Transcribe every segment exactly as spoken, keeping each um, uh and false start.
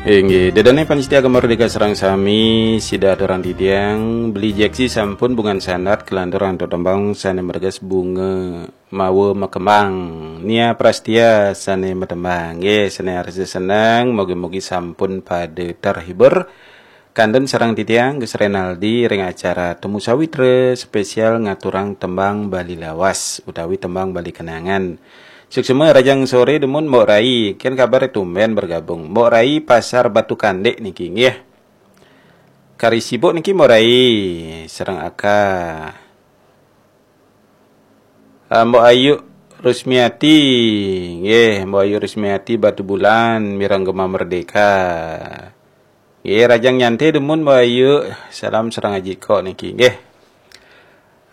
Inggih, ida dané pamiarsa Gema Merdeka sareng sami, sida aturang titiang, Beli Jeksi sampun bungan sandat kalanturang antuk tembang sané merges Bunga Mawa Makembang. Nia Prastia sané matembang. Nggih, sané arsa seneng, mugi-mugi sampun pada terhibur. Kantun sareng titiang Gus Renaldi ring acara Temu Sawitra spesial ngaturang tembang Bali Lawas utawi tembang Bali Kenangan. Suksma rahajeng soré dumun Mbok Rai, kén kabar tumbén bergabung. Mbok Rai Pasar Batu Kandik niki nggih. Kari sibuk niki Mbok Rai sareng Aka. Ah, Mbok Ayu Rusmiati, nggih, Mbok Ayu Rusmiati Batubulan mireng Gema Merdeka. Nggih, rahajeng nyanté dumun Mbok Ayu, salam sareng Aji Kok niki nggih.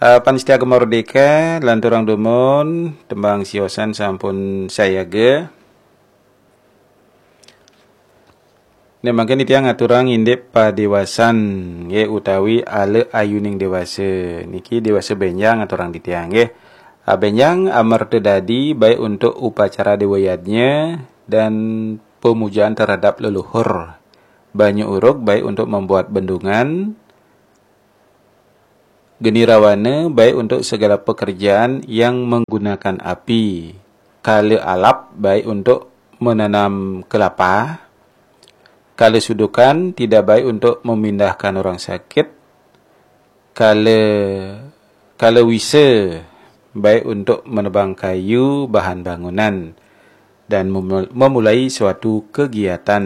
Ah, pamiarsa Gema Merdeka, lanturang dumun, tembang siosan sampun sayaga. Nika mangkin titiang ngaturang indik padéwasan, nggih, utawi ala ayuning déwasa. Niki déwasa bénjang aturang titiang, nggih. Ah, bénjang amerta dadi baik untuk upacara déwa yadnya dan pemujaan terhadap leluhur. Banyu uruk baik untuk membuat bendungan, geni rawana baik untuk segala pekerjaan yang menggunakan api, kala alap baik untuk menanam kelapa, kala sudukan tidak baik untuk memindahkan orang sakit, kala kala wisa baik untuk menebang kayu bahan bangunan dan memul- memulai suatu kegiatan.